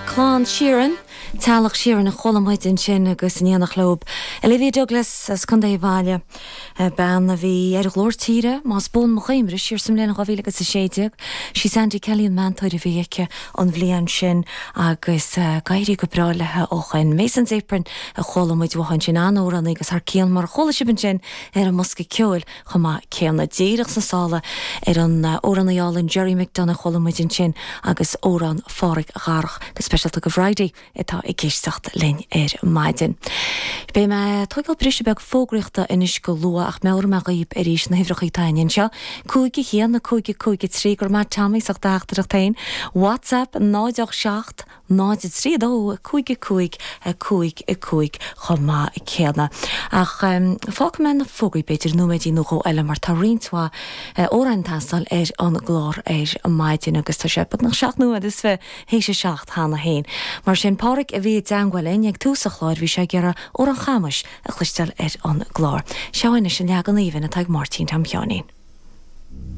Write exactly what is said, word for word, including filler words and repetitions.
Clann Sheeran, Teaghlach Sheeran a chuala muid ansin agus in éineacht leo Olivia Douglas as Contae Bhaile, bean a bhí ar Ghlór Tíre más buan mo chuimhne siar sa mbliain dhá mhíle agus a sé déag. Sí Sandy Kelly an meantóir a bhí aici an bhliain sin agus d'éirigh go breá léi ó shin. Mason's Apron a chuala muid uaithi ansin an-amhránaí agus thar cionn mar a chuala sibh ansin ar an mbosca ceoil chomh maith céanna. Díreach sna sála ar an amhránaí álainn Gerry McDonagh a chuala muid ansin agus amhrán Pháraic Dharach go speisialta do Bhridie atá ag éisteacht linn ar maidin. Beidh mé ag tógáil briseadh beag fógraíochta anois go luath ach meabhróidh mé dhaoibh arís na huimhreacha atá againn anseo. Cúig a haon, a cúig a cúig a trí, go raibh maith Tommy as ucht do theachtaireacht féin. WhatsApp náid ocht seacht, náid a trí a dó, a cúig a cúig, a cúig a cúig chomh maith céanna. Ach fágfaidh mé na fógraí b'fhéidir nóiméidín nó dhó eile mar tá roinnt mhaith amhráin ag teastáil ar an gclár ar maidin agus tá sé beagnach seacht nóiméad is fiche théis a seacht cheana féin. Mar sin Páraic a bhí i dteangmháil linn ag tús an chláir bhí sé ag iarraidh Amhrán Chamais a chloisteáil ar an gclár. Seo anois an leagan aoibhinn atá ag Máirtín Tom Sheáinín.